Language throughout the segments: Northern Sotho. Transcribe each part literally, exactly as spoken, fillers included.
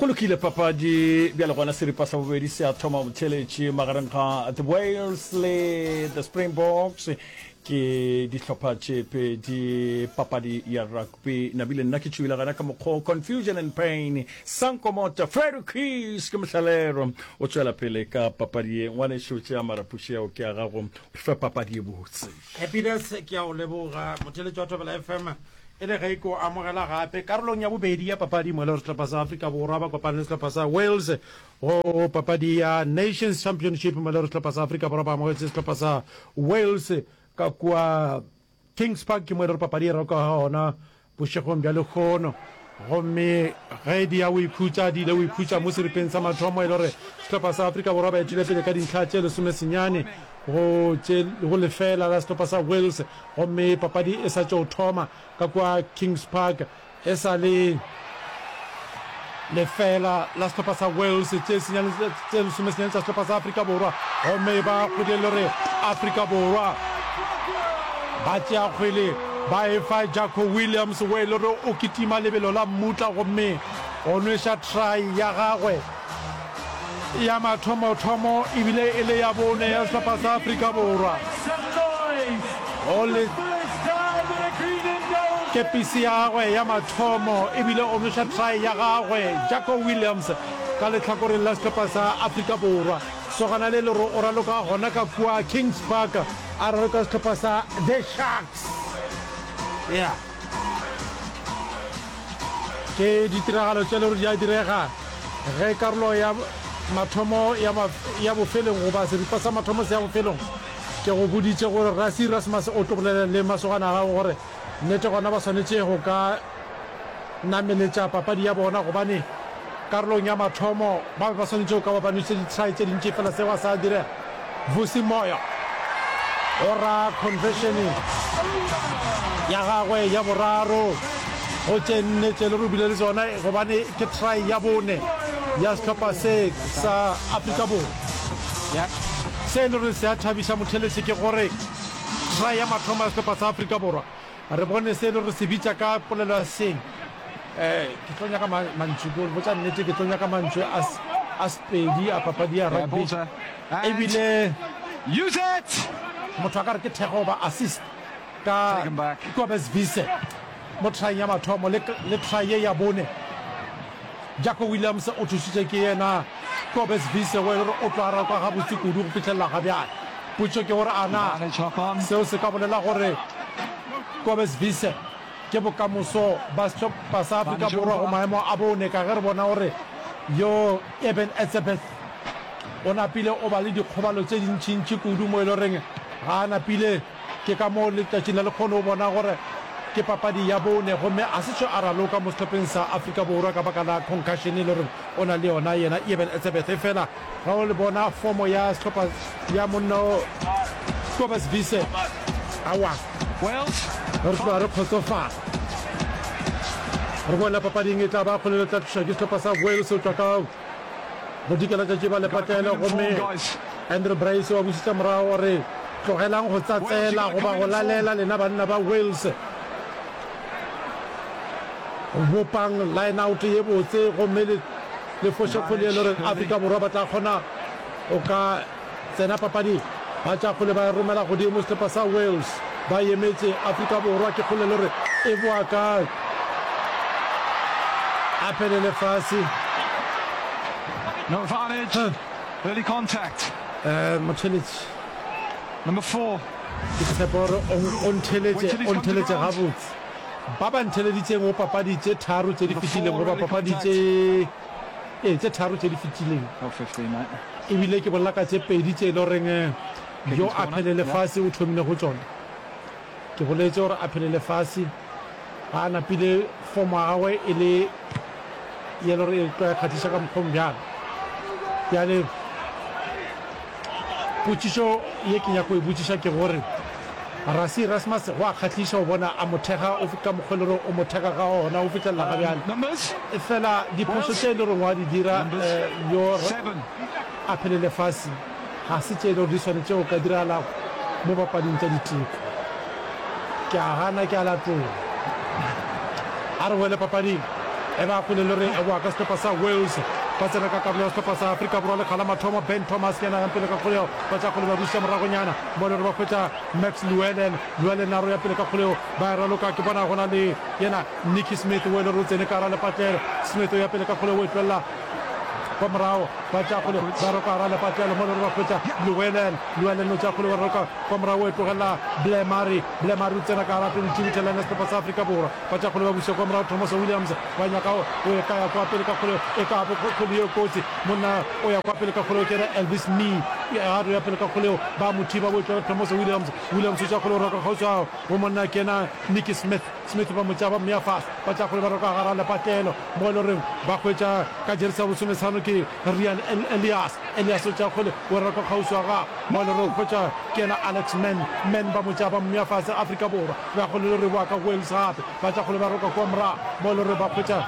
Go lokile papadi bjale gona seripa sa bobedi se a thoma botheletši magareng ga the Wales le the Springboks ke dihlopha tše pedi papadi ya rugby nabile nna ke tšwile gana ka mokgwa confusion and pain sankomota Freddy Keys ke mohlalero o tšwela pele ka papadi ye ngwanešo tšea marapuši ao ke a gago re fe papadi ye botse. Happiness ke a o leboga motheletši wa Thobela F M e le ge ke o amogela gape karolong ya bobedi ya papadi mo e le gore sehlopha sa Afrika Borwa ba kopane le sehlopha sa Wales go papadi ya Nations Championship mo e le gore sehlopha sa Afrika Borwa ba amogetše sehlopha sa Wales ka kua Kings Park ke mo e le gore papadi e raloka gona bošegong bja lehono gomme ge di ya o ikhutša di ile o ikhutša mo seripeng sa mathomo e le gore sehlopha sa Afrika Borwa ba etile pele ka dintlha tše lesomesenyane go tše go lefela la sehlopha sa Wales gomme papadi e sa tšo thoma ka kua Kings Park e sa le lefela la sehlopha sa Wales tše senyane tše lesomesenyane tša sehlopha sa Afrika Borwa gomme ba kgwedi le gore Afrika Borwa ba tšea kgwele ba e fa Jaco Williams we le gore o kitima lebelo la mmutla gomme o nweša try ya gagwe ya mathomothomo ebile e le ya bone ya sehlopha sa Afrika Borwa o le kepisi ya gagwe ya mathomo ebile o nweša try ya gagwe Jaco Williams ka lehlakoreng la sehlopha sa Afrika Borwa sogana le lero o raloka gona ka kua Kings Park a raloka sehlopha sa The Sharks yeah ke ditiragalo tše le gore di a direga ge karolo ya mathomo ya, ya bofelong goba seripa sa mathomo se ya bofelong ke go boditše gore Rassie Erasmus o tlo bolela le masogana a gago gore nnete gona ba swanetše go ka nameletša papadi ya bona gobane karolong ya mathomo ba be ba swanetše go ka ba ba nwešitše di-try tše dintši fela seo a sa direga Vusi Moyo o ra conversion ya gagwe ya boraro go tše nne tše le re bile le tsona gobane ke try ya bone ya sehlopha se sa Afrika Borwa yeah se e le gore se a thabiša motheletši ke gore try ya mathomo ya sehlopha sa Afrika Borwa re bone se e le gore se bitša ka polelo ya seng um ke tlo nyaka mantšu ko botša nnete ke tlo nyaka mantšu a Sepedi a papadi ya rugby ebile use it motho a ka re ke thekgo goba assist ka Kobus Wiese mo trying ya mathomo le, le try ye ya bone Jaco Williams o thušitše ke yena Kobus Wiese go e le gore o tlo araba gabotse kudu go fihlelela ga bjale potšo ke gore ana seo se ka bolela gore Kobus Wiese ke bokamoso ba sehlopha sa Afrika Borwa go maemo a bone ka ge re bona gore yo Eben Etzebeth o napile o ba le dikgobalo tše dintšintši kudu mo e le goreng ga a napile ke ka moo letšatšing la lekgono o bona gore ke papadi ya bone gomme a se tšo a raloka mo sehlopheng sa Afrika Borwa ka baka la concussion e le gore o na le yona yena Eben Etzebeth fela ga o le bona fomo ya sehlopha ya monna o Kobus Wiese awa re tloga re kgotsofala re boela papading e tla ba kgolelo tla tlišwa ke sehlopha sa Wales o tšwa ka bodikela tšatši ba lepatlelo gomme Andrew Bryce wa bušetša morago gore tlogelang go tsatsela goba go lalela lena banna ba Wales bopang line out ye botse gomme le le foše kgwele e le gore Afrika Borwa ba tla kgona o ka tsena papading ba tša kgwele ba e romela godimo sehlopha sa Wales ba emetše Afrika Borwa ke kgwele le gore e boa ka apelele fase No advantage. Early contact. Eh, motheletši Number four. ke tshepa gore o- o ntheletše o ntheletše gabotse ba ba ntheleditseng go papadi tše tharo tše di fetileng goba papadi tše ee tše tharo tše di fetileng Oh, fifteen, mate. ebile ke bolela ka tše pedi tše e le goreng eh, yo a phelele fase o thomile go tšona ke boletse gore a phelele fase ga a napile fomo ya gagwe e le ye le gore e tlo ya kgahliša ka mokgong bjalo bjale potšišo ye ke nyako e botšiša ke gore Rassie Erasmus go a kgahliša go bona a mothega o ka mokgwa e le gore o mothega ka ona o fihlelela ga bjale Numbers. fela diphošo tše e le goreng wa di dira eh, yo Seven. a phelele fase ga se tše e le gore di swanetše go ka diragala mo papading tša diteko ke a gana ke a latola a re boele papading E ba kgole le re e boa ka sehlopha sa Wales. Ba tsena ka karolo ya sehlopha sa Afrika Borwa lekga la mathomo. Ben Thomas ke yena a yang pele ka kgolego. Ba tša kgole ba buša moragonyana mo le gore ba hwetša Max Llewellyn. Llewellyn a ro ya pele ka kgolego. Ba e raloka ke bona go na le yena Nicky Smith o e le gore o tsene ka gara lepatlelo. Smith o ya pele ka kgolego o e tlolela kwa morago. Ba tša kgole ba roka gara lepatlelo mo le gore ba hwetša Llewellyn. Llewellyn o tša kgole wa roka kwa morago o e tlogelela Blair Murray. Blair Murray o tsena ka gara twenty-two meter line ya sehlopha sa Afrika Borwa. Ba tša kgole ba buša kwa morago Thomas Williams ba nyaka o e ka ya kwa pele ka kgole e ka bo kgole ye kotsi monna o ya kwa pele ka kgole o kena Elvis Mee a re ya pele ka kgole eo ba mo thiba bo tšwela Thomas Williams Williams o tša kgole o roka kgauswi a go monna kena Nicky Smith Smith ba mo tša ba mmea fase ba tša kgole ba roka gara lepatlelo mo e le goreng ba hwetša ka jeresi ya bosometlhano ke Rian Elias Elias o tša kgole o roka kgauswi a gagwe mo e le goreng hwetša kena Alex Mann Mann ba mo tša ba mmea fase Afrika Borwa Ba kgole le re boa ka Wales gape. Ba tša kgole ba roka kua morago. Mo le re ba hwetša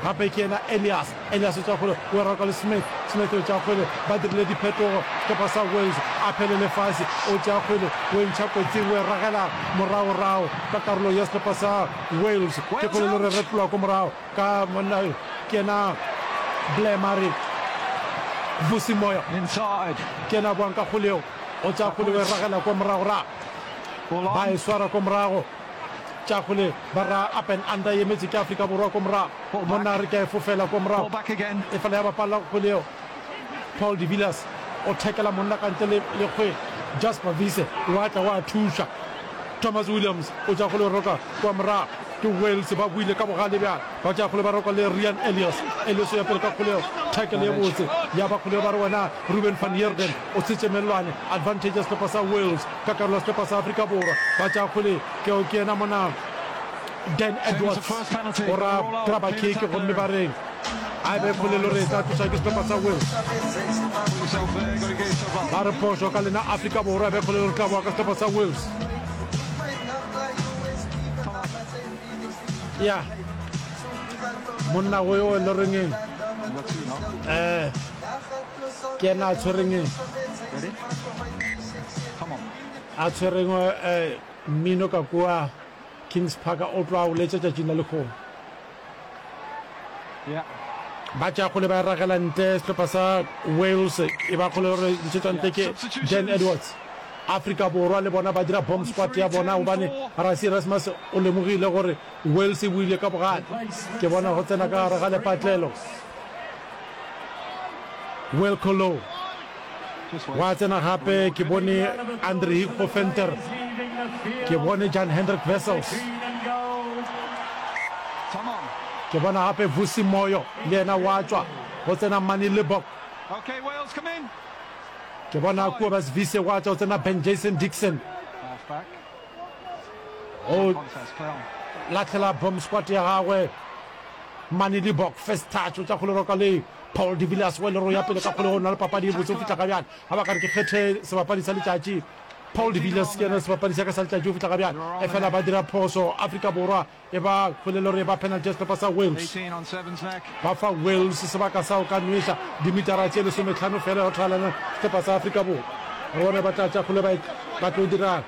gape ke yena Elias. Elias o tša kgole o roka le Smith. Smith o tša kgwele. Ba dirile diphetogo. Sehlopha sa Wales a phelele fase. O tšea kgwele o e ntšha kotsing o e ragela moragorago ka karolo ya sehlopha sa Wales. Ke kgole le re retlola ko morago ka monna ke yena Blair Murray. Vusi Moyo ke yena a boang ka kgole yeo. O tšea kgwele o e ragela ko moragorago. Ba e swara ko morago. Tša kgole ba ra up and under e emetše ke Afrika Borwa ko morago. Monna a re ke a e fofela ko morago. Efela ya bapalla kgwele yeo. Paul de Villiers o thekela monna ka ntle le le kgwele. Jasper Wiese wa tla wa thuša. Thomas Williams o tša kgole o roka kwa morago. Ke Wales ba boile ka bogale bjale. Ba tša kgole ba roka le Ryan Elias. Elias o ya pele ka kgole yeo. Tackle ye botse ya ba kgole yeo ba re wena Ruben van Heerden o tshetše mellwane. Advantage ya sehlopha sa Wales ka karolo ya sehlopha sa Afrika Borwa. Ba tša kgole ke ke yena mona Dan Edwards o ra grabber kick gomme ba re a e be kgole le gore e tla tloša ke sehlopha sa Wales. Ba re phošo ka lena Afrika Borwa e be kgole le gore tla boa ka sehlopha sa Wales. Ya monna go yo le reng um ke yena a tshwereng a tshwereng um mmino ka kua Kings Park o tlo a o letša tšatšing la lekgono. Ba tšea kgole ba e ragela ntle sehlopha sa Wales e ba kgole gore ntšhetšwa ntle ke Dan Edwards. Afrika Borwa le bona ba dira bomb squad ya bona gobane Rassie Erasmus o lemogile gore Wales e boile ka bogale. Ke bona go tsena ka gare ga lepatlelo. Wilco Louw Gwa tsena gape ke bone Andre Hugo Venter, ke bone Jan Hendrik Wessels, ke bona gape Vusi Moyo le yena wa tšwa, go tsena Manie Libbok. Ke bona Kobus Wiese wa tšwa, go tsena Ben Jason Dixon. O lahlela bomb squad ya gagwe. Manie Libbok, first touch, o tša kgole roka le Paul de Villiers wa Leroy ya pele ka kgolegong na le papadi e botse go fihla ga bjale. Ga ba ka re ke kgethe sebapadi sa letšatši. Paul de Villiers ke yena sebapadi sa ka sa letšatši go fihla ga bjale. Efela ba dira phoso. Afrika Borwa e ba kgolelo re ba penalty ya sehlopha sa Wales. Ba fa Wales sebaka sa go ka nweša dimitara tše lesometlhano fela go thalana sehlopha sa Afrika Borwa. Re bone ba tla tša kgole ba ba tlo dira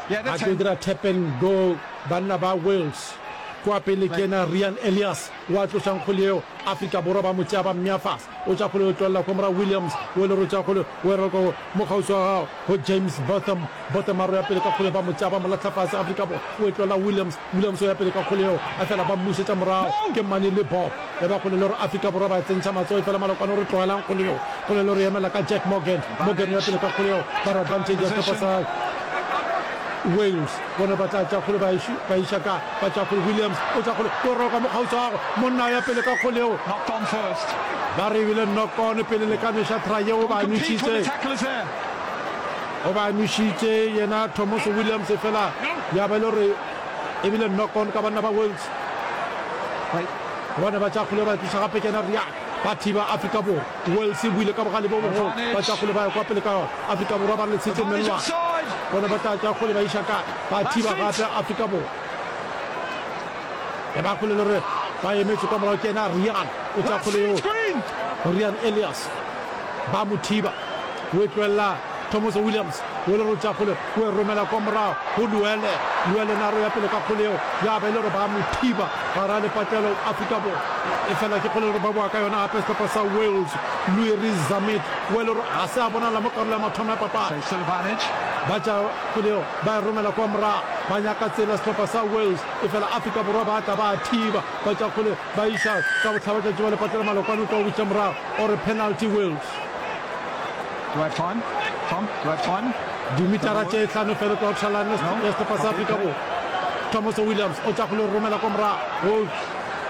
ba tlo dira tap and go banna ba Wales. Kwa pele ke yena Ryan Elias. Wa tloša nkgole yeo, Afrika Borwa ba mo tšea ba mmea fase. O tša kgole o tlolela kwa morago Williams, o le rotša kgole o e roka mo kgauswi wa gago go James Botham. Botham a roya pele ka kgole ba mo tšea ba mo lahla fase. Afrika Borwa o e tlolela Williams, Williams o ya pele ka kgole yeo efela ba mmušetša morago ke Manie Libbok. E ba kgole le gore Afrika Borwa ba tsentšha matsogo efela Malokwane o re tlogelang kgole yeo. Kgole le gore emela ka Jack Morgan, Morgan o ya pele ka kgole yeo ba re advantage ya sehlopha sa Wales. Bona ba tla tša kgole ba ba iša ka, ba tša kgole. Williams o tša kgole, o roka mokgauswi wa gagwe, monna a ya pele ka kgole yeo. Ba re ebile knock on pele le ka nweša try yeo, o ba nwešitše, o ba nwešitše yena Thomas Williams, fela ya ba e le gore ebile knock on ka banna ba Wales. Bona ba tša kgole ba tliša gape ke yena Riak, ba thiba Afrika Borwa. Wales e boile ka bogale bjo bogolo, ba tša kgole ba ya kwa pele ka yona. Afrika Borwa ba re le tshetše mellwane. Bona ba tla tša kgole ba iša kae? Ba thiba gape Afrika Borwa. E ba kgole le re ba emetše kwa morago ke yena Rian, o tša kgole yeo. Rian Elias ba mo thiba, o e tlogelela Thomas Williams, O le re o tšea kgole o e romela kwa morago go Luele. Luele na re ya pele ka kgole yeo ya ba e le gore ba mo thiba gare ga lepatlelo Afrika Borwa. Efela ke kgole le gore ba boa ka yona gape sehlopha sa Wales. Louis Rees-Zammit o e le gore ga se a bonala mo karolo ya mathomo ya papadi. Ba tšea kgole yeo ba e romela kwa morago, ba nyaka tsela sehlopha sa Wales, efela Afrika Borwa ba tla ba thiba, ba tšea kgole ba iša ka bohlabatšatši ba lepatlelo. Malokwane o tla o buša morago o re penalty Wales. Do I have time? Tom, do I have time? Dimitara tše hlano fela tloga tšhalane ya sehlopha sa Afrika Borwa. Thomas Williams o tša kgole romela kwa morago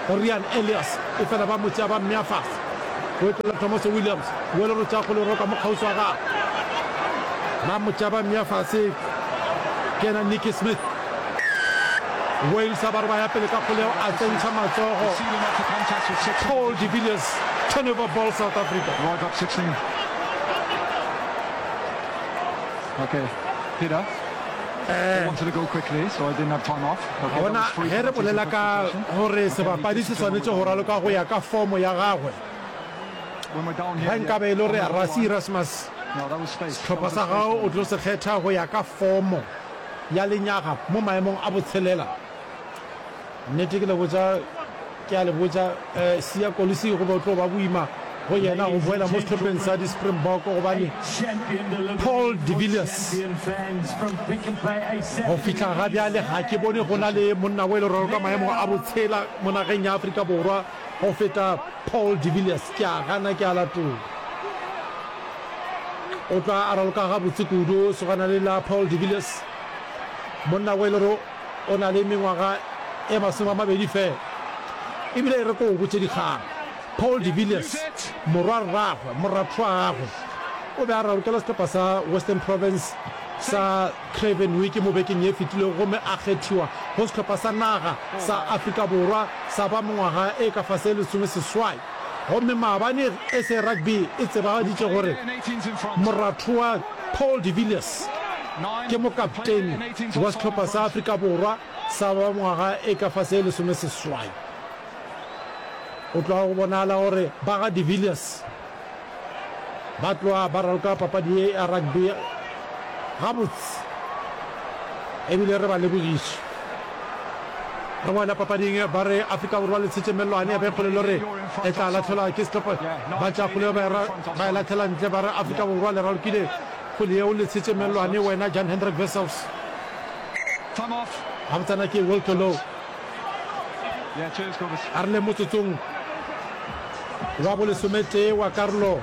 go Ryan Elias, efela ba mo tšea ba mmea fase. O etela Thomas Williams, o le re tša kgole roka mo kgauswi wa gagwe. Ba mo tšea ba mmea fase ke yena Nicky Smith. Wales a ba re ba ya pele ka kgoleo a tsentšha matsogo. Paul de Villiers, turnover ball South Africa. Right up sixteen. Okay, Peter. They wanted to go quickly, so I didn't have time off. Okay, that Bona was three ge re bolela ka gore sebapadi se swanetše go raloka go ya ka fomo ya gagwe, When we're down here, ge nkabe e le gore Rassie Erasmus No, that was space. sehlopha sa gago o tlo se kgetha go ya ka fomo ya lenyaga mo maemong a botshelela. Nnete ke le botša, ke a le botša, eh, Siya Kolisi go be o tlo ba boima go yena go boela mo sehlopheng sa di-Springbok gobane Paul de Villiers go fihla ga bjale ga ke bone go na le monna o e le gore ka maemo a botshela mo nageng ya Afrika Borwa go feta Paul de Villiers. Ke a gana, ke a latola. O tla a raloka gabotse kudu sogana le la Paul de Villiers, monna o e le gore o na le mengwaga e masome a mabedi fela. Ebile e re ko o botše dikgang, Paul de Villiers morwa rragwe, moratho wa gagwe, o be a ralokela sehlopha sa Western Province sa Craven Week mo bekeng ye fetilego gomme a kgethiwa go sehlopha sa naga sa Afrika Borwa sa ba mengwaga e ka fase lesome seswai. Gomme maabane S A Rugby e tsebagaditše gore moratho wa Paul de Villiers ke mokaptene wa sehlopha sa Afrika Borwa sa ba ngwaga e ka fase lesome seswai. O tloga go bonala gore ba ga de Villiers ba tloga ba raloka papadi ye ya rugby gabotse, ebile re ba lebogiše. Re boela papading, ba re Afrika Borwa le tshetše mellwane ya be kgole le re e tla latlhelwa ke sehlopha. Ba tša kgole ba e ra- ba e latlhela ntle, ba re Afrika Borwa le ralokile kgole yeo le tshetše mellwane wena Jan Hendrik Wessels. Time off. Gabotsana ke Wilco Louw. Yeah, cheers, Kobus. A re le motsotsong wa bolesometee wa karolo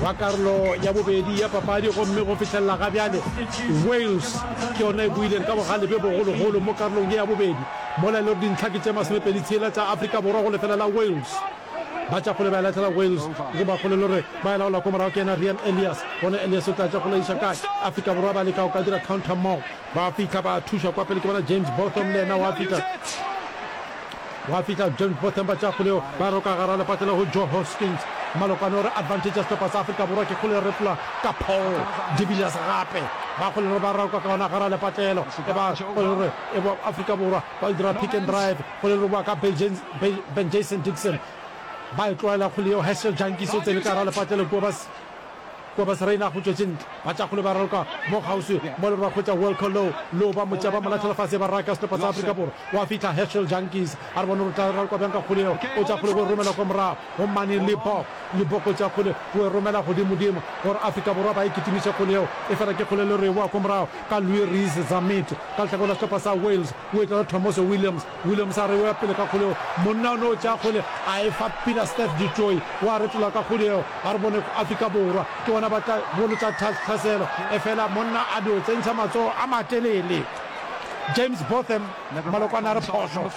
wa karolo ya bobedi ya papadi, gomme go fihlelela ga bjale Wales ke yona e buileng ka bogale bjo bogologolo mo karolong ye ya bobedi, mola e le gore dintlha ke tše masomepedi tshela tša Afrika Borwa go lefela la Wales. Ba tša kgole ba e latlhela Wales, go ba kgole le gore ba e laola ko morago ke yena Ryan Elias. Gona Elias o tla tša kgole iša kae? Afrika Borwa ba leka go ka dira counter maul, ba fihla ba thuša kwa pele ke bona James Botham le yena wa fihla, wa fihla James Botham, ba tša kgole yeo ba roka gara lepatlelo go Joe Hoskins. Malokwane o re advantage ya sehlopha sa Afrika Borwa ke kgole e retlola ka Paul de Villiers gape ba kgole gore ba roka ka gona gara lepatlelo e ba kgole gore e bo Afrika Borwa ba dira pick and drive kgole re boa ka Ben Jason Dixon ba e tloela kgole yeo. Herschel Jantjies o tsene ka gara lepatlelo kua ba kua ba Serena go tšwetše ntle, ba tša kgole ba raloka mo kgauswi mo le gore ba hwetša Wilco Louw, Louw ba mo tšea ba mo latlhela fase ba raka sehlopha sa Afrika Borwa. Wa fihla Herschel Jantjies a re bone gore o tla raloka bjang ka kgole yeo. O tša kgole go e romela kwa morago go Manie Libbok, Libbok o tša kgole go e romela godimodimo gore Afrika Borwa ba e kitimiše kgole yeo, efela ke kgole le re boa kwa morago ka Louis Rees-Zammit ka lehlakore la sehlopha sa Wales. O etla le Tomos Williams, Williams a re o ya pele ka kgole yeo, monna o no tšea kgole a e fa Pieter-Steph du Toit, wa retola ka kgole yeo. A re bone Afrika Borwa ke bona ba tla bolotša tlhaselo, efela monna a dio tsentšha matsogo a matelele. James Botham, Malokwane a re phošo.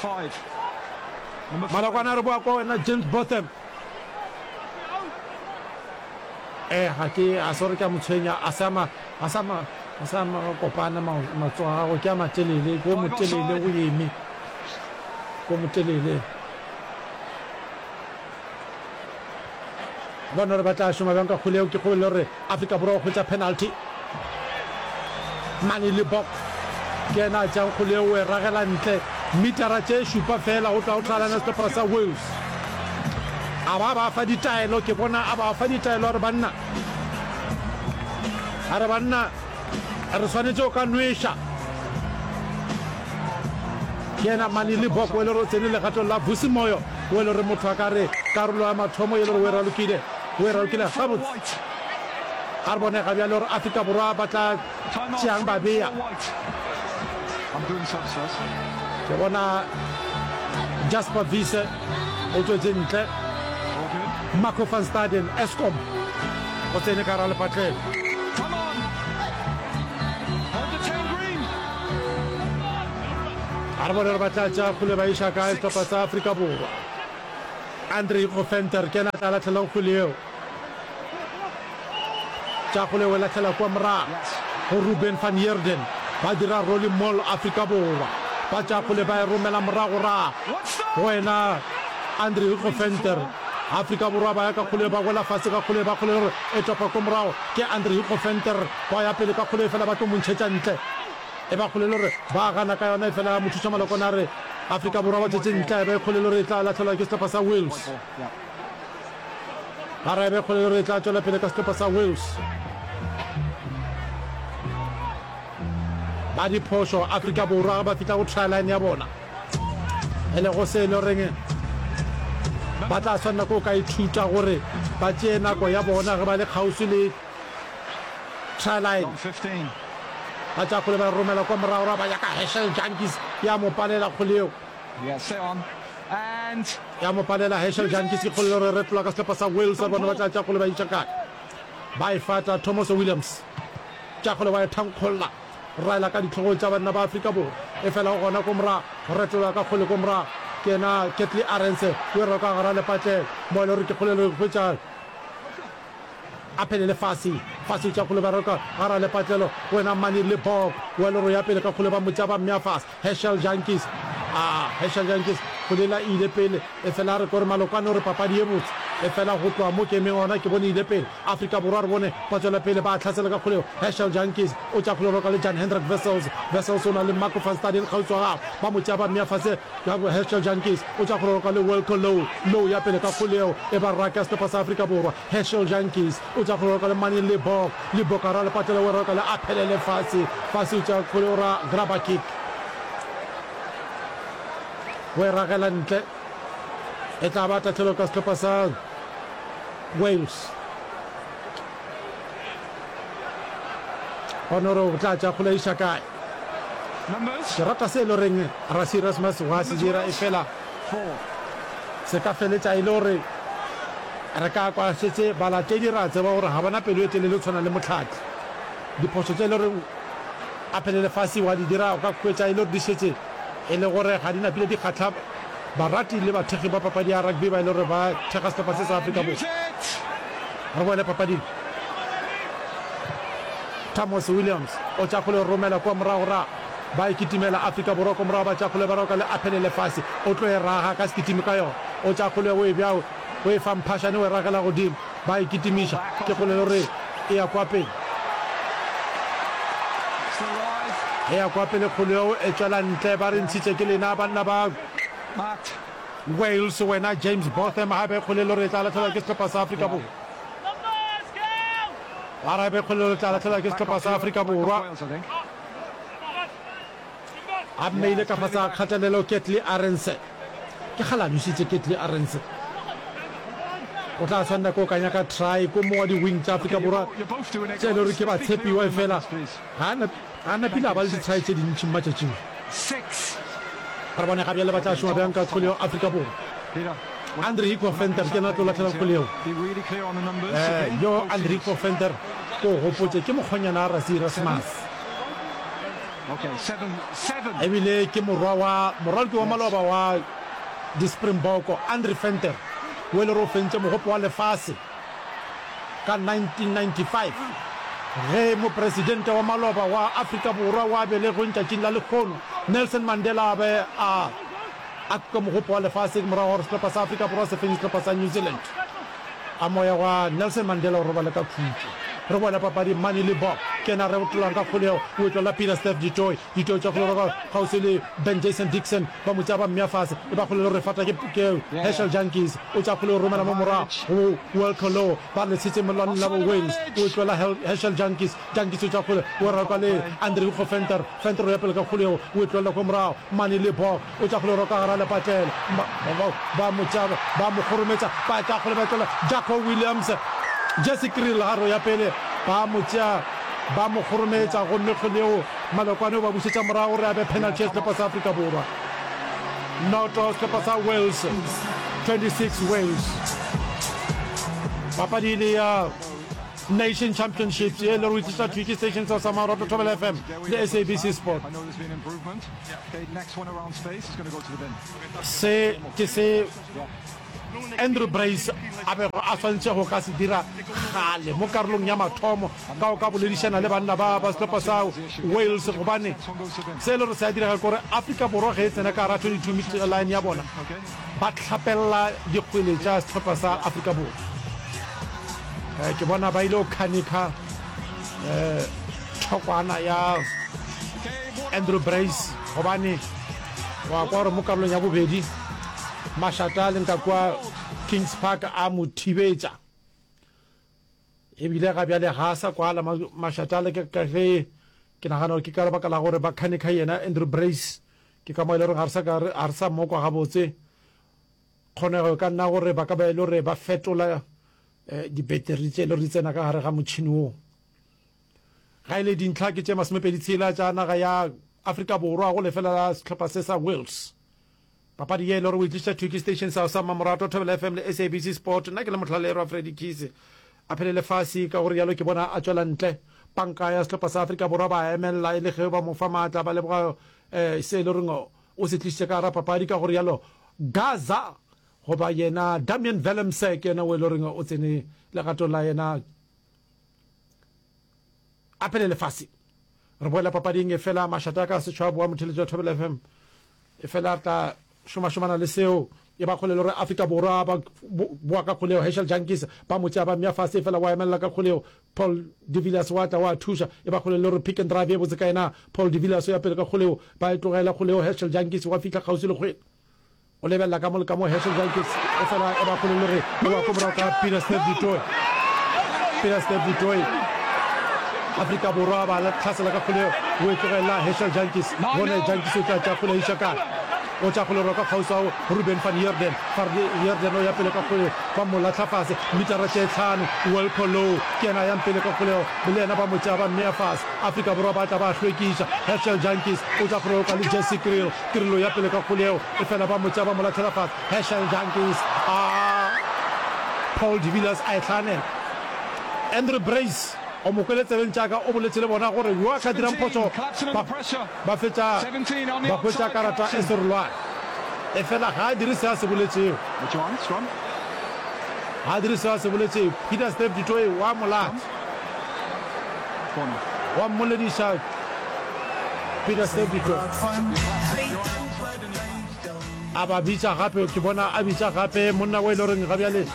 Malokwane a re boa kwa wena James Botham. Eh, ga ke a se gore ke a mo tshwenya, a se a ma a se a ma a se a ma kopana matsogo a gagwe ke a matelele, ke o motelele o eme, ke o motelele. Bona gore ba tla šoma bjang ka kgole yeo. Ke kgobelo gore Afrika Borwa o hwetša penalty. Manie Libbok ke yena a tšeang kgole yeo, o e ragela ntle metara tše šupa fela go tloga go tlalana sehlopha sa Wales. A ba ba fa ditaelo, ke bona a ba fa ditaelo a re banna A re banna re swanetše go ka nweša. Ke yena Mani Libbok o e le gore o tsene legatong la Vusi Moyo o e le gore motho a ka re karolo ya mathomo e le gore o e ralokile, o e ralokile gabotse. A re bone ga bjale gore Afrika Borwa ba tla tšeang ba bea. Ke bona Jasper Wiese o tšwetše ntle. Marco van Staden, Eskom, o tsene ka gara lepatlelo. A re bone gore ba tla tšea kgole ba iša kae sehlopha sa Afrika Borwa. Andre Hugo Venter ke yena a tla lahlelang kgwele yeo. Tša kgole o e lahlela kua morago go Ruben van Heerden. Ba dira rolling maul Afrika Borwa. Ba tša kgole ba e romela morago ra go yena Andre Hugo Venter. Afrika Borwa ba ya ka kgole ba wela fase ka kgole ba kgole gore e topa ko morago ke Andre Hugo Venter. Ba ya pele ka kgole efela ba tlo mo ntšhetša ntle. E ba kgole le gore ba gana ka yona efela mothuša Malokwane a re Afrika Borwa ba tšwetše ntle a e be kgole le gore e tla lahlelwa ke sehlopha sa Wales. Ba re e be kgole le gore e tla tšwela pele ka sehlopha sa Wales. Ba diphošo Afrika Borwa ba fihla go try line ya bona e lego se e le goreng ba tla swanela ke go ka ithuta gore ba tšee nako ya bona ge ba le kgauswi le try line. Ba tša kgole ba romela kwa morago ra ba ya ka Herschel Jantjies ya mo palela kgole yeo. Ya mo palela Herschel Jantjies ke kgole le gore retlola ka sehlopha sa Wales re bona ba tla tša kgole ba iša kae. Ba e fata Thomas Williams. Tša kgole wa e thankgolla raela ka dihlogong tša banna ba Afrika Borwa. E fela go gona ko morago retlola ka kgole ko morago ke yena Ketly Arendse o e roka gara lepatlelo mo e le gore ke kgole le go hwetša A phelele fase, fase tša kgole ba roka gara lepatlelo, wena Mani le Bob, wa loro ya pele ka kgole ba mo tša ba mmea fase. Herschel Jantjies, a Herschel Jantjies, kgole la ile pele, efela a re kore Malokwane o re papadi ye botse, efela go tloga mo ke emeng gona ke bone ile pele. Afrika Borwa re bone ba tšwela pele ba hlasela ka kgole yeo. Herschel Jantjies o tša kgole roka le Jan Hendrik Wessels, Wessels o na le Marco van Staden kgauswi wa gagwe, ba mo tšea ba mmea fase. Herschel Jantjies o tša kgole roka le Wilco Louw, Louw ya pele ka kgole yeo e ba raka sehlopha sa Afrika Borwa. Herschel Jantjies o tša kgole roka le Manie Libbok, Libbok a ra lepatlelo o roka le Aphelele Fassi, Fassi o tša kgole o ra grabber kick o e ragela ntle, e tla ba tahlelo ka sehlopha sa Wales. Gona gore o tla tša kgole iša kae. Ke rata se e le goreng Rassie Erasmus wa se dira, efela se ka feletša e le gore re ka kwa šetše balatedi ra tseba gore ga ba na pelo e telele go tshwana le Mohlahli. Diphošo tše e le goreng a phele lefase wa di dira o ka hwetša e le gore di šetše e le gore ga di napile di kgahla barati le bathekgi ba papadi ya rugby ba e le gore ba thekga sehlopha se sa Afrika Borwa. Re boele papading. Thomas Williams o tša kgole romela kua morago ra ba e kitimela Afrika Borwa ko morago ba tša kgole ba roka le aphelele fase o tlo e raga ka sekitimi ka yona o tša kgole o e bja o e fa mphašane o e ragela godimo ba e kitimiša ke kgole le gore e ya kwa pele e ya kwa pele kgole eo e tšwela ntle ba re ntšhitše ke lena banna ba Wales wena James Botham gape kgole le gore e tla lahlelwa ke sehlopha sa Afrika Borwa Ba re be kgole le tla lahlelwa ke sehlopha sa Afrika Borwa. A mmeile ka fase ga kgatelelo Ketly Arendse. Ke kgale a nwešitše Ketly Arendse. O tla swanela ke go ka nyaka try ko mongwe wa di-wing tša Afrika Borwa tše e le gore ke batshepiwa efela ga a napile a ba le di-try tše dintši matšatšing. Re bone ga bjale ba tla šoma bjang ka kgole yeo Afrika Borwa. Andre Hugo Venter ke yena a tlo lahlela kgole yeo. Eh, yo Andre Hugo Venter ko gopotše ke mokgonyana wa Rassie Erasmus. Ebile ke morwa wa moraloki wa maloba wa di-Springbok Andre Venter o e le gore o fentše mogopo wa lefase ka nineteen ninety-five ge mopresidente wa maloba wa Afrika Borwa wa belegweng tšatšing la lehono Nelson Mandela a be a a kuka mogopo wa lefase morago ga gore sehlopha sa Afrika Borwa se fenye sehlopha sa New Zealand. A moya wa Nelson Mandela o robale ka khutšo. Re boela papading, Manie Libbok ke yena a retolang ka kgole yeo, o e tlolela Pieter Steph du Toit. Du Toit tša kgole roka kgauswi le Ben Jason Dixon, ba mo tšea ba mmea fase, e ba kgole le gore fata ke ke Herschel Jantjies, o tša kgole o romela mo morago go Wilco Louw, ba re letshetse mellwaneng la bo Wales, o e tlolela Herschel Jantjies, Jantjies o tša kgole o roka le Andre Hugo Venter, Venter o ya pele ka kgole yeo, o e tlolela kwa morago Manie Libbok, o tša kgole o roka gara lepatlelo, ba ba mo tšea ba mo kgorometša, ba tša kgole ba e tlolela Jaco Williams. Jesse Kriel gare o ya pele, ba mo tšea ba mo kgorometša gomme kgwele yeo Malokwane o ba bušetša morago gore a be penalty ya sehlopha sa Afrika Borwa. Noto sehlopha sa Wales, twenty six Wales. Papadi e le ya Nation Championships ye le re o tliša thwi ke station sa sa Maroto Thobela F M le S A B C Sport. Se ke se Andrew Brace a bego a swanetše go ka se dira kgale mo karolong ya mathomo ka go ka boledišana le banna ba ba sehlopha sa Wales gobane se e le gore se a direga ke gore Afrika Borwa ge e tsena ka gara twenty two metre line ya bona ba hlapella dikgwele tša sehlopha sa Afrika Borwa. Ke bona ba ile go khanikha thokwana ya Andrew Brace gobane wa kwa gore mo karolong ya bobedi mašata a leng ka kua Kings Park a mo thibetša. E bile ga bjale ga a sa kwala mašata a le ka ge ke nagana gore ke ka lebaka la gore ba khanikha yena Andrew Brace, ke ka mo e le gore ga re sa ka ga re sa mo kwa gabotse. Kgonego e ka nna gore ba ka ba e le gore ba fetola dibeteri tše e le gore di tsena ka gare ga motšhini wo. Ga e le dintlha ke tše masomepedi tshela tša naga ya Afrika Borwa go lefela la sehlopha se sa Wales. Papadi ye e le gore o e tliša thwi ke station sa sa Mmamoratwa, Thobela F M le S A B C Sport. Nna ke le mohlalerwa Freddy Kise. A phele lefase, ka go rialo ke bona a tšwela ntle. Panka ya sehlopha sa Afrika Borwa ba a emelela e le ge ba mo fa maatla, ba leboga se e le goreng o se tlišitše ka gara papadi. Ka go rialo Gaza goba yena Damian Willemse ke yena o e le goreng o tsene legatong la yena a phele lefase. Re boela papading efela mašata a ka setšhwa boa motheletši wa Thobela F M. Efela re tla šomašomana le seo. E ba kgole le gore Afrika Borwa ba boa ka kgoleo. Herschel Jantjies ba mo tšea ba mmea fase efela wa emelela ka kgoleo. Paul de Villiers wa tla wa thuša. E ba kgole le gore pick and drive e botse ka yena. Paul de Villiers o ya pele ka kgoleo. Ba e tlogela kgoleo. Herschel Jantjies wa fihla kgauswi le kgwele. O lebelela ka mo le ka mo Herschel Jantjies efela e ba kgole le gore o wa ko morago ka Peter Steph du Toit. Peter Steph du Toit. Afrika Borwa ba hlasela ka kgoleo. O e tlogela Herschel Jantjies. Bone Jantjies o tla tšea kgole a iša kae? O tša kgole roka kgauswi ao Ruben van Heerden. Van Heerden o ya pele ka kgoleo, ba mo lahla fase metara tše hlano. Wilco Louw ke yena a yang pele ka kgoleo, le yena ba mo tšea ba mmea fase. Afrika Borwa ba tla ba hlwekiša. Herschel Jantjies o tša kgole roka le Jesse Kriel. Kriel o ya pele ka kgoleo, efela ba mo tšea ba mo lahlela fase. Herschel Jantjies a Paul de Villiers a e hlanela. Andrew Brace o mo kwele tsebeng tša ka, o boletše le bona gore yo a ka dirang phošo ba Ba fetša ba hwetša karata e serolwane. Efela ga a dire se a se boletšego. Ga a dire se a se boletšego. Peter Steph du Toit wa molata. Wa mmolediša Peter Steph du Toit. A ba bitša gape, ke bona a bitša gape monna o e le goreng ga bjale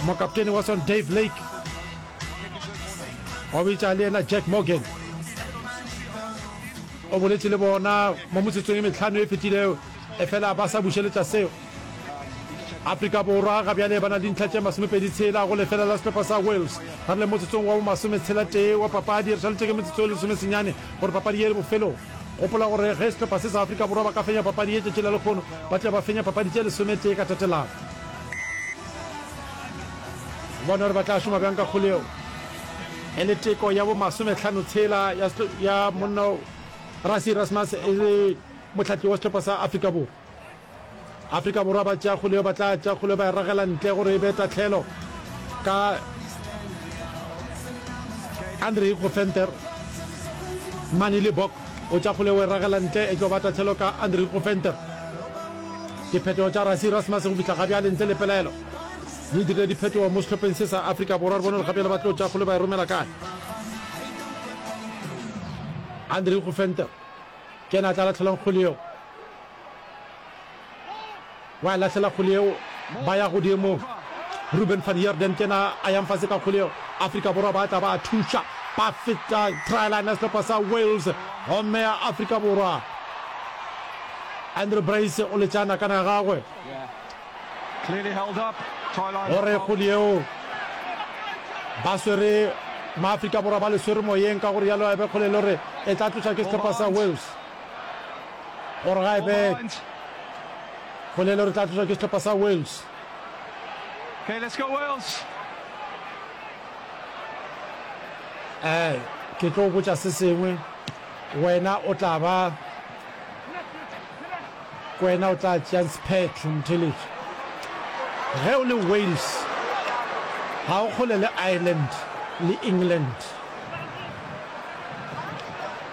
mokaptene wa sona Dave Lake. Wa bitša le yena Jack Morgan. O boletše le bona mo metsotsong e mehlano e fetilego, efela ba sa bušeletša seo. Afrika Borwa ga bjale ba na le dintlha tše masomepedi tshela go lefela la sehlopha sa Wales. Re le motsotsong wa bomasometshela tee wa papadi, re šaletše ke metsotso e lesomesenyane gore papadi ye e le bofelong. Gopola gore ge sehlopha se sa Afrika Borwa ba ka fenya papadi ye tšatši la lehono, ba tla ba fenya papadi tše lesometee ka tatelano. Bone gore ba tla šoma bjang ka kgole yeo. E le teko ya bo masomehlano tshela ya, ya monna Rassie Erasmus e le mohlahli wa sehlopha sa Afrika Borwa. Afrika Borwa ba tšea kgole yeo, ba tla tšea kgole ba e ragela ntle gore e be tahlelo ka Andre Hugo Venter. Manie Libbok o tšea kgole o e ragela ntle, e tlo ba tahlelo ka Andre Hugo Venter. Diphetogo tša Rassie Erasmus go fihla ga bjale ntle le pelaelo di dirile diphetogo mo sehlopheng se sa Afrika Borwa. Re bone gore gabjale ba tlo tšea kgole ba e romela kae. Andre Hugo Venter ke yena a tla lahlelang kgole yeo. Wa e lahlela kgole yeo, ba ya godimo. Ruben van Heerden ke yena a yang fase ka kgole yeo. Afrika Borwa ba tla ba thuša, ba feta try line ya sehlopha sa Wales, gomme ya Afrika Borwa Andrew Brace o letša nakana ya gagwe gore kgole yeo ba swere Maafrika Borwa ba le swere moyeng, ka gore yalo ebe kgole le gore e tla tloša ke sehlopha sa Wales, gore ga ebe kgole le gore e tla tloša ke sehlopha sa Wales. Okay, let's go Wales. Eh, ke tlo botša se sengwe, wena o tla ba wena o tla tšeang sephetho motheletši. Ge o le Wales, ga o kgole le Ireland le England.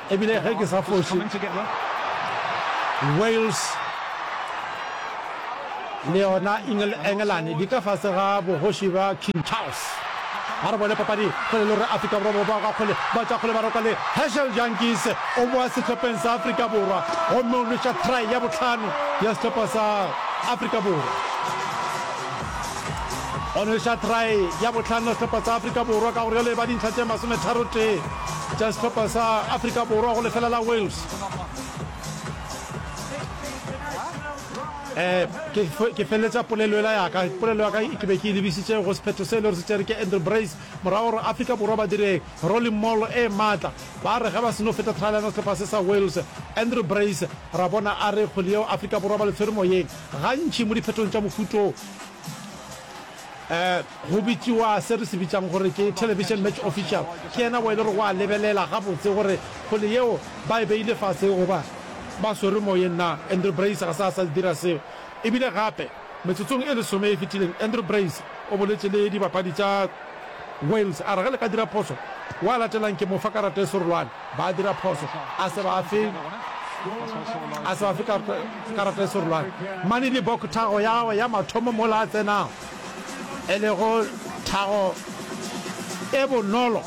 Ebile ge ke sa foše, Wales le yona Engelane di ka fase ga bogoši bja King Charles. Ga re bone papadi kgole le gore Afrika Borwa ba boa ka kgole, ba tšwa kgole ba roka le Herschel Jantjies o boa sehlopheng sa Afrika Borwa gomme o nweša try ya bohlano ya sehlopha sa Afrika Borwa. O nweša try ya bohlano ya sehlopha sa Afrika Borwa ka gore jale e ba dintlha tše masometharotee tša sehlopha sa Afrika Borwa go lefela la Wales. Eh, ke, ke feleletša polelo ela ya ka. Polelo ya ka ke be ke e lebisitše go sephetho se e le gore se tšere ke Andrew Brace morago gore Afrika Borwa ba dire rolling maul e maatla. Ba re ge ba seno feta try line ya sehlopha se sa Wales, Andrew Brace ra bona a re kgwele yeo Afrika Borwa ba le tshwere moyeng. Gantši mo diphethong tša mohuto um go bitšiwa se re se bitšang gore ke television match official. Ke yena wo e le gore wa lebelela gabotse gore kgwele yeo ba e beile fase goba ba swere moyeng na. Andrew Brace ga se a sa dira seo. Ebile gape metsotsong e lesome e fetileng Andrew Brace o boletše le dibapadi tša Wales a re ge le ka dira phoso wa latelang ke mo fa karata e serolwane. Ba dira phoso a se ba fe a se ba fe karata e serolwane. Manie Libbok thago ya gagwe ya mathomo mola a tsenago e lego thago e bonolo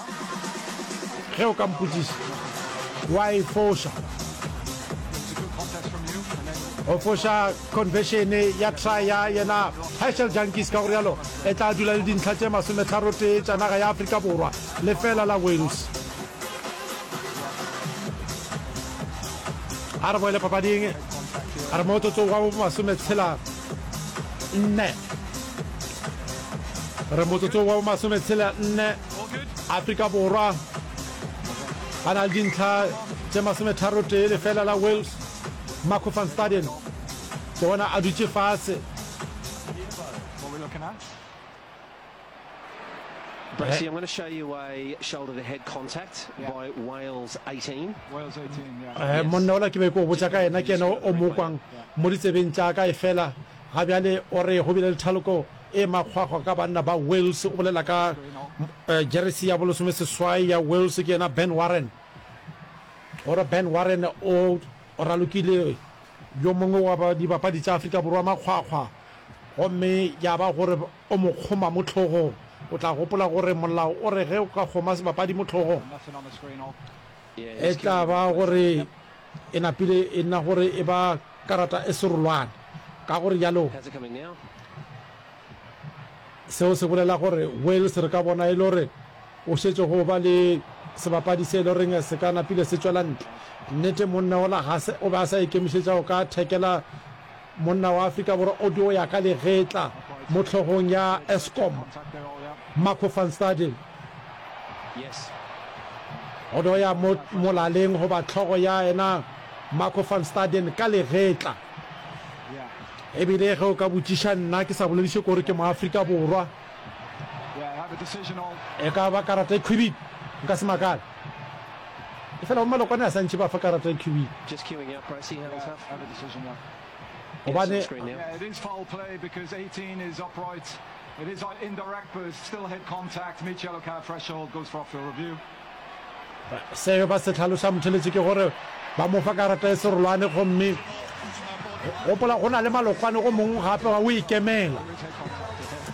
ge o ka mpotšiša wa e foša. O foša conversion ya try ya yena Herschel Jantjies, ka go rialo e tla dula le dintlha tše masometlharotee tša naga ya Afrika Borwa lefela la Wales. A re boele papading, a re motsotsong wa bomasometshela nne, re motsotsong wa bomasometshela nne, Afrika Borwa ba na le dintlha tše masometharotee lefela la Wales. Marco van Staden ke bona a dutše fase. Bracey, I'm going to show you a shoulder to head contact yeah. by Wales eighteen. Wales eighteen, yeah. Eh, monna ola ke be ke o botša ka yena, ke yena o mo kwang mo ditsebeng tša ka, efela ga bjale o re go bile le thaloko e makgwakgwa ka banna ba Wales. O bolela ka eh, jeresi ya bolesome seswai ya Wales, ke yena Ben Warren. O re Ben Warren o ralokile yo mongwe wa dibapadi tša Afrika Borwa makgwakgwa gomme ya ba gore o mo kgoma mo hlogong. O tla gopola gore molao o re ge o ka kgoma sebapadi mo hlogong e tla ba gore e napile e nna gore e ba karata e serolwane. Ka go rialo seo se bolela gore Wales re ka bona e le gore o šetše go ba le sebapadi se e le goreng se ka napile se tšwela ntle. Nnete monna ola ga se o be a sa ikemišetša go ka thekela monna wa Afrika Borwa o dio ya ka legetla mo hlogong ya Eskom, Marco van Staden. O dio ya mo molaleng goba hlogo ya yena Marco van Staden ka legetla. Ebile ge o ka botšiša nna ke sa bolediše kore ke Moafrika Borwa, e ka ba karata e khwibidu, nka se makale. Efela bo Malokwane a sa ntše ba fa karata e khwibidu. Gobane Yeah, it is foul play because eighteen is upright. It is indirect, but it's still head contact. Meets yellow card threshold, goes for off-field review. Seo ba se hlaloša motheletši ke gore ba mo fa karata e serolwane, gomme gopola go na le malokwane go mongwe gape wa o ikemela.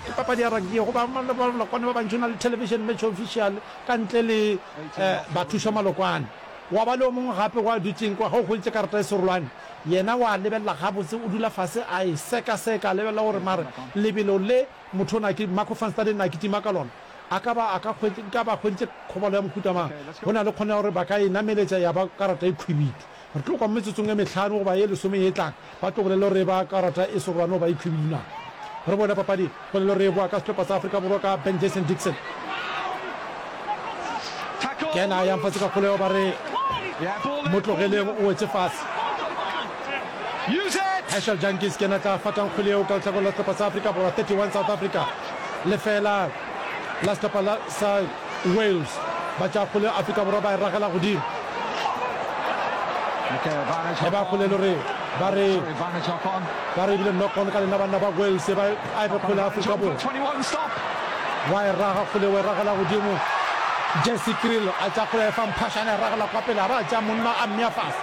Ke papadi ya rugby go ba malokwane ba bantši, o na le television match official ka ntle le eh, bathuša malokwane. Wa ba le o mongwe gape wa dutšeng kwa, ge o hweditše karata e serolwane, yena wa lebelela gabotse, o dula fase a e sekaseka, a lebelela gore mare lebelo le motho o na ke Marco van Staden na kitima ka lona, A ka ba a ka hwetše, nka ba hweditše kgobalo ya mohuta mang? Go na le kgonego ya gore ba ka e nameletša ya ba karata e khwibidu. Re tlo kwa mo metsotsong e mehlano goba ye lesome ye e tlang, ba tlo bolela gore e ba karata e serolwane goba e khwibidu na. Re bone papadi, polelo re e boa ka sehlopha sa Afrika Borwa ka Ben Jason Dixon. Ke yena a yang fase ka kgolego ba re mo tlogeleng o wetše fase. Herschel Jantjies ke yena tla fatang kgwele yeo ka lehlakoreng la sehlopha sa Afrika Borwa. Thirty one South Africa lefela la sehlopha la sa Wales. Ba tšea kgwele Afrika Borwa ba e ragela godimo. E ba kgwele le gore ba re ba re ebile knock on ka lena banna ba Wales ba a e be kgwele Afrika Borwa. Wa e raga kgwele wa e ragela godimo. Jesse Kriel a tšea kgwele a e fa Mphashane a e ragela kwa pele a ba a tšea monna a mmea fase.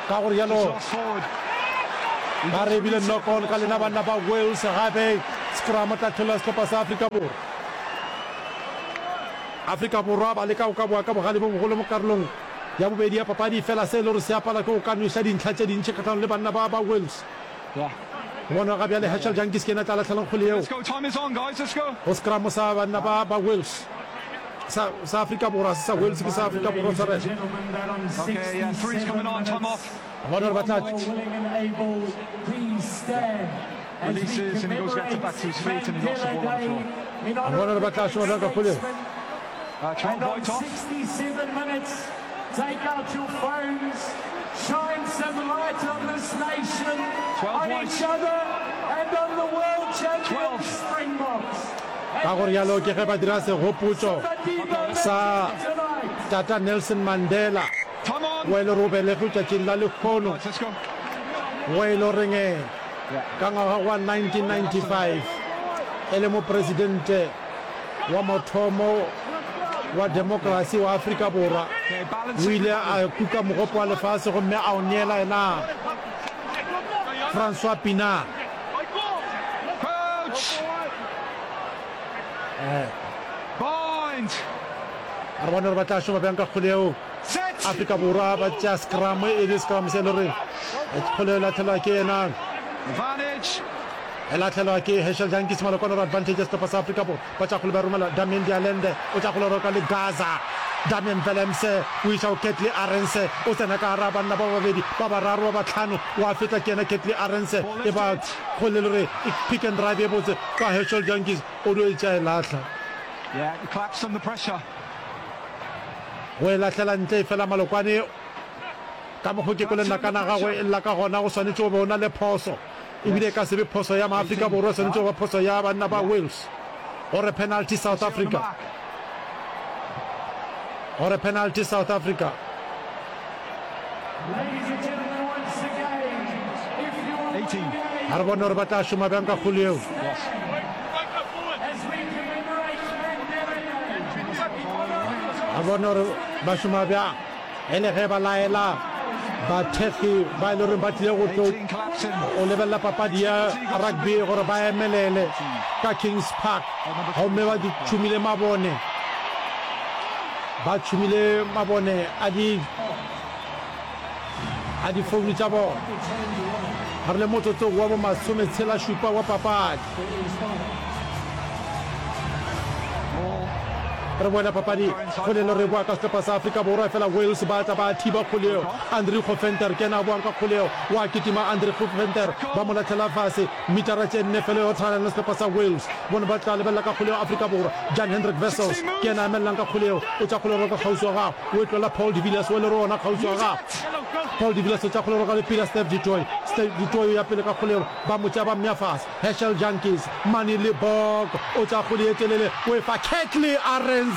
Ka gore yalo ba re ebile knock on ka lena banna ba Wales gape scrum tla tlholela sehlopha sa Afrika Borwa. Afrika Borwa ba leka go ka boa ka bogale bo bogolo mo karolong ya bobedi ya papadi, efela se e le gore se a pala ke go ka nweša dintlha tše dintši kgahlanong le banna ba ba Wales. Go bonwa ga bjale Herschel Jantjies ke yena a tla lahlelang kgwele yeo go scrum sa banna ba ba Wales. Sa, sa Afrika Borwa, se sa Wales ke sa Afrika Borwa, tshwarelo. Go bona gore ba tla Releases and he goes gets it back to his feet and he lost the ball on the floor. Re bona gore ba tla šoma bjang ka kgwele yeo. Uh, twelve And on white off. sixty-seven minutes, take out your phones, shine some light on this nation, twelve on white. each other, and on the world champion twelve. Springboks. Ka go rialo ke ge ba dira segopotšo sa Tata Nelson Mandela, Time on. wo e le gore o belegwe tšatšing la lehono, Right, let's go. wo e le goreng ka ngwaga wa nineteen ninety-five e le mopresidente wa mathomo wa demokrasi wa Afrika Borwa, o ile a kuka mogopo wa lefase gomme a o neela yena Francois Pienaar. Coach. Bind. Re bone gore ba tla šoma bjang ka kgwele yeo. Set. Afrika Borwa ba tšea scrum, e le scrum se e le gore kgwele e lahlelwa ke yena. Advantage. E lahlelwa ke Herschel Jantjies Malokwane gore advantage ya sehlopha sa Afrika Borwa. Ba tša kgwele ba romela Damien de Allende, o tša kgwele roka le Gaza. Damien Willemse o iša go Kurt-Lee Arendse, o tsena ka gara banna ba babedi, ba bararo, ba bahlano, wa feta ke yena Kurt-Lee Arendse. E ba kgwele le gore e pick and drive e botse ka Herschel Jantjies, o dio e tšea e lahla. Yeah, he claps under pressure. Go e lahlela ntle efela Malokwane ka mokgo ke kwele nakana gagwe e lla ka gona, go swanetše go be o na le phoso. Ebile e ka se be phoso ya maAfrika Borwa, e swanetše go ba phoso ya banna ba Wales. Gore penalty South Africa. Gore penalty South Africa. Ladies and gentlemen, once again, if you're eighteen. A re bone gore ba tla šoma bjang ka kgole yeo. Yes. As we commemorate Mandela Day, A re bone gore ba šoma bjang e le ge ba laela bathekgi ba e le goreng ba tlile go tlo eighteen collapsing. go lebelela papadi ya rugby gore ba emelele ka Kings Park, gomme ba di tšhumile mabone, ba tšhumile mabone a di a difounu tša bona. Re le motsotsong wa bo masometshela šupa wa papadi. Re boela papadi kgole le re boa ka sehlopha sa Afrika Borwa, efela Wales ba tla ba thiba kgole yeo. Andri Goventer ke yena a boang ka kgole yeo, wa kitima Andri Goventer, ba mo lahlela fase metara tše nne fela yo tshwana le sehlopha sa Wales. Bone ba tla lebelela ka kgole yeo Afrika Borwa. Jan Hendrik Wessels ke yena a emelelang ka kgole yeo, o tša kgole roka kgauswi wa gagwe, o e tlola Paul de Villiers o le re ona kgauswi wa gagwe. Paul de Villiers o tša kgole roka le Peter Steph du Toit, Steph du Toit o ya pele ka kgole yeo, ba mo tšea ba mmea fase. Herschel Jantjies, Manie Libbok o tša kgole ye telele, o e fa Kurt-Lee Arendse.